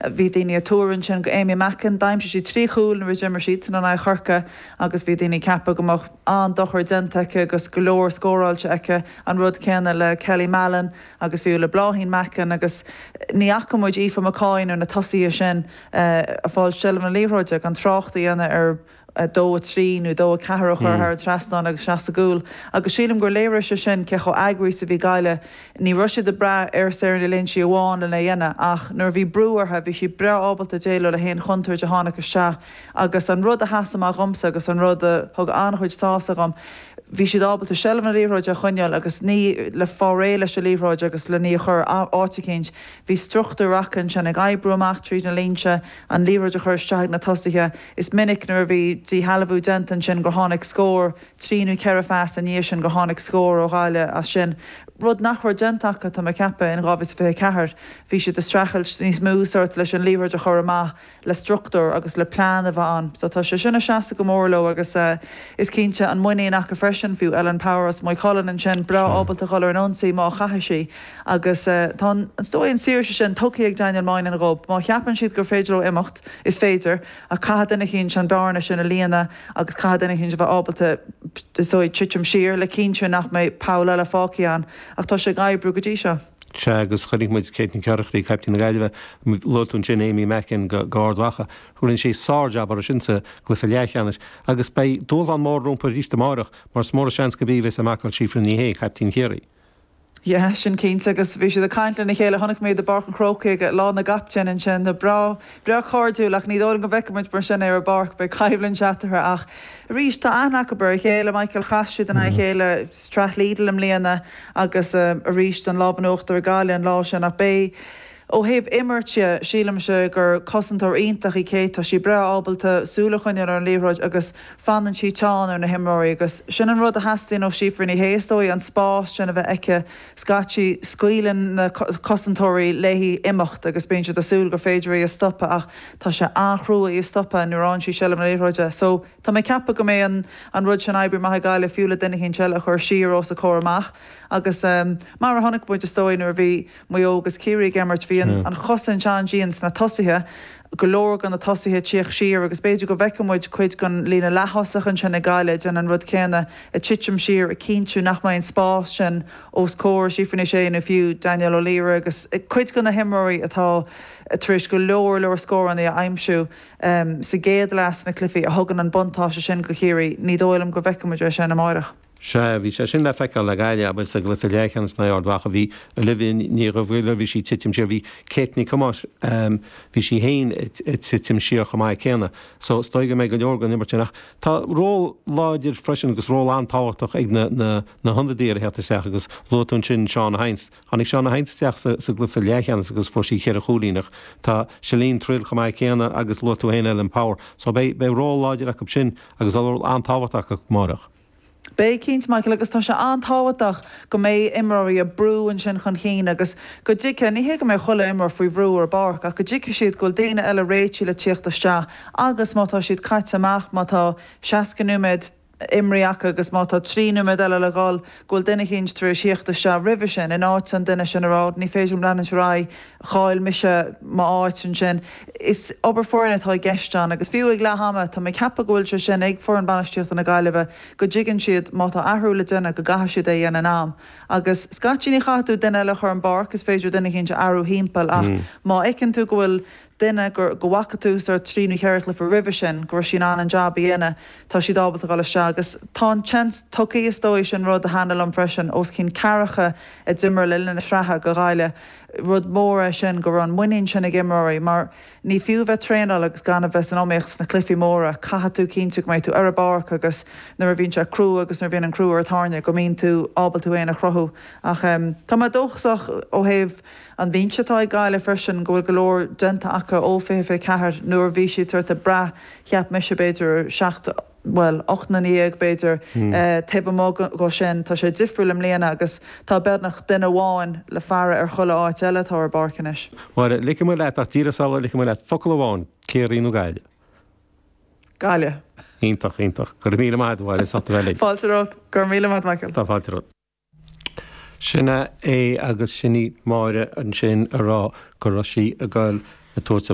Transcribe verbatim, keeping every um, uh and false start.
Bhí daoine ag tuar ansin go Amy Mackin, d'aimsigh sí trí chúl nuair a d'imir siadsan in aghaidh Chorcaí agus bhí daoine ag ceapadh go mbeadh an-dochar déanta aici agus go leor scóráilte aici, an rud céanna le Kelly Mallon agus fiú le Bláithín Mackin agus ní fhaca muid Aoife McCoy nó na tosaithe sin ag fáil seilbh na liathróide gan trácht a dhéanamh ar a dó a trí nó dó a ceathair a chur thar an trasnán agus isteach sa gcúl agus sílim gur léirigh sé sin cé chomh eagraithe is a bhí Gaillimh. Ní raibh siad ag brath ar Sarah Ní Loingsigh amháin lena dhéanamh ach nuair a bhí brú orthu bhí siad breá ábalta déileáil le haon chontúirt a tháinig isteach agus an rud a sheas amach dhomsa agus an rud a thug an-chuid sásamh dhom bhí siad ábalta seilbh na liathróide a choinneáil agus ní le fáil réidh leis an liathróid agus le ní a chur áit eicínt. Bhí struchtúr acu ansin ag oibriú amach tríd na línte, an liathróid a chur isteach ag na tosaithe. Is minic nuair a bhí díshealbhú déanta ansin gur tháinig scór, trí nó ceithre phas i ndiaidh sin gur tháinig scór ó Ghaillimh as sin. Rud nach raibh déanta acu, tá mé ag ceapadh, in dhá mhíle is fiche a ceathair. Bhí siad ag streachailt níos mó sórt leis an liathróid a chur amach le struchtúr agus le plean a bheith ann. So tá sé sin ag seasamh go mór leo agus is cinnte an muinín acu freisin, fiú Ellen Power as Maigh Cuilinn ansin, breá ábalta dhul ar an ionsaí má chaithfidh sí agus tá an, is dóigh an saoirse sin tugtha ag Daniel Moynihan dhóibh. Má cheapann siad gur féidir leo imeacht, is féidir, ach caithfidh duine eicínt an bearna sin a líonadh agus caithfidh duine eicínt a bheith ábalta, is dóigh, titim siar le cinntiú nach mbeidh poll eile fágtha ann. Ach tá sé ag oibriú go dtí seo. Sea, agus chonaic muid Kate Nic Oireachtaigh, caiptín na Gaillimhe, luaigh tú ansin Amy Mackin go Ard Mhacha, rinne sí sár-jab orthu sin sa gcluiche leathcheannais agus beidh dúshlán mór rompu arís amárach mar is mór an seans gurb í a bheas ag marcáil Síofra Ní Shé, caiptín Chiarraí. Yeah, sin cinnte agus bhí siad ag caint lena chéile, chonaic mé iad i bPáirc an Chrócaigh ag Lá na gCaptaen ansin, breá, breá cairdiúil ach ní dóigh liom go bhfeicfidh muid mar sin é ar an bpáirc, beidh coimhlint eatarthu ach arís tá aithne acu ar a chéile, Michael, chas siad in aghaidh a chéile sa tSraith Lidl i mbliana agus arís an lámh in uachtar ag Gaillimh an lá sin ach beidh, Ó thaobh imirt dhe, sílimse gur cosantóir iontach í Kate. Tá sí breá ábalta súil a choinneáil ar an liathróid agus fanann sí teann ar na himreoirí agus sin an rud a theastaíonn ó Síofra Ní Shé, is dóigh, an spás sin a bheith aici. Scaití, scaoileann na cosantóirí léi imeacht agus bíonn siad ag súil gur féidir í a stopadh ach tá sé an-chrua í a stopadh nuair a fhaigheann sí seilbh na liathróide. So, tá mé ag ceapadh go mbeidh an an rud sin ag oibriú maith ag Gaillimh fiú le duine eicínt eile a chur siar os a comhair amach agus mar a chonaic muid is dóigh nuair a bhí Maigh Eo agus Ciarraí ag imirt, bhí an chosaint an-dian sna tosaithe, go leor de na tosaithe ag tíocht siar agus b'fhéidir go bhfeicfidh muid cuid den líne leath-thosach ansin ag Gaillimh ag déanamh an rud céanna, ag titim siar, ag cinntiú nach mbeidh an spás sin os comhair Síofra Ní Shé nó fiú Danielle O'Leary agus cuid de na himreoirí atá tar éis go leor leor scóranna a aimsiú sa gcéad leath sna cluichí a thugann an buntáiste sin go Chiarraí. Ní dóigh liom go bhfeicfidh muid é sin amárach. Sea, bhí sé sin le feiceáil le Gaillimh, abair, sa gcluiche leathcheannais in aghaidh Ard Mhacha. Bhí Olivia Ní Dhubhghaill, bhí sí ag titim siar, bhí Kate Nic Thomáis, bhí sí féin ag titim siar chomh maith céanna. So, is dóigh go mbeidh go leor den imirt sin. Ach tá ról láidir freisin agus ról an-tábhachtach ag na, na, na hionadaithe a theacht isteach agus luaigh tú ansin Shauna Hynes. Tháinig Shauna Hynes isteach sa, sa gcluiche leathcheannais agus fuair sí cheithre chúilín ach tá Celine Trill chomh maith céanna agus luaigh tú féin Ellen Power. So beidh, beidh ról láidir acu sin agus ról an-tábhachtach acu amárach. Beidh, cinnte, Michael, agus tá sé an-tábhachtach go mbeidh imreoirí ag brú ansin chun cinn agus go dtuigfidh, ní hé go mbeidh chuile imreoir faoi bhrú ar an bpáirc, ach go dtuigfidh siad go bhfuil daoine eile réitithe le tíocht isteach agus má tá siad caite amach, má tá seasca nóiméad imrithe acu agus má tá trí nóiméad eile le dhul, go bhfuil duine eicínt tar éis thíocht isteach roimhe sin in áit an duine sin a rá ní féidir liom leanúint ar aghaidh, chaill mise m'áit ansin. Is obair foirne atá i gceist ann agus fiú ag leath ama, tá mé ag ceapadh go bhfuil sé sin ag foireann bainistíochta na Gaillimhe, go dtuigeann siad má tá athrú le déanamh go gcaithfidh siad é a dhéanamh in am. Agus scaití ní chaithfidh tú duine eile a chur ar an bpáirc, is féidir duine eicínt a athrú thimpeall ach má fheiceann tú go bhfuil duine go go bhfaca tú sórt trí nó ceithre chluiche roimhe sin go raibh sí in ann an jab a dhéanamh, tá siad ábalta dhul isteach agus tá an tseans tugtha, is dóigh, sin rud a thaitnigh liom freisin, os cionn ceathracha a d'imir le linn na sraithe go Ghaillimh. Rud mór é sin go raibh an muinín sin ag imreoirí mar ní fiú bheith traenáil agus gan a bheith san iomaíocht sna cluichí móra, caithfidh tú cinntiú go mbeidh tú ar an bpáirc agus nuair a bhíonn sé crua agus nuair a bhíonn an crú ar an tairne go mbíonn tú ábalta tú féin a chruthú. Ach tá mé dóchasach ó thaobh an bhinse atá ag Gaillimh freisin go bhfuil go leor déanta acu ó fiche fiche ceathair nuair a bhí siad sórt ag brath, cheap mise b'fhéidir ar seacht, bhuel, ocht nduine dhéag b'fhéidir, taobh amuigh dhó sin. Tá sé difriúil i mbliana agus tá beagnach duine amháin le faire ar chuile áit eile atá ar an bpáirc anois. Máire, ligfidh mé leat ach díreach sula ligfidh mé leat focal amháin, Ciarraí nó Gaillimh? Gaillimh. Iontach, iontach. Go raibh míle maith agat, a Mháire, as ucht a bheith linn. Fáilte romhat. Go raibh míle maith agat, Michael. Tá fáilte romhat. Sin é agus sin í Máire ansin a rá go raibh sí ag goil ag tabhairt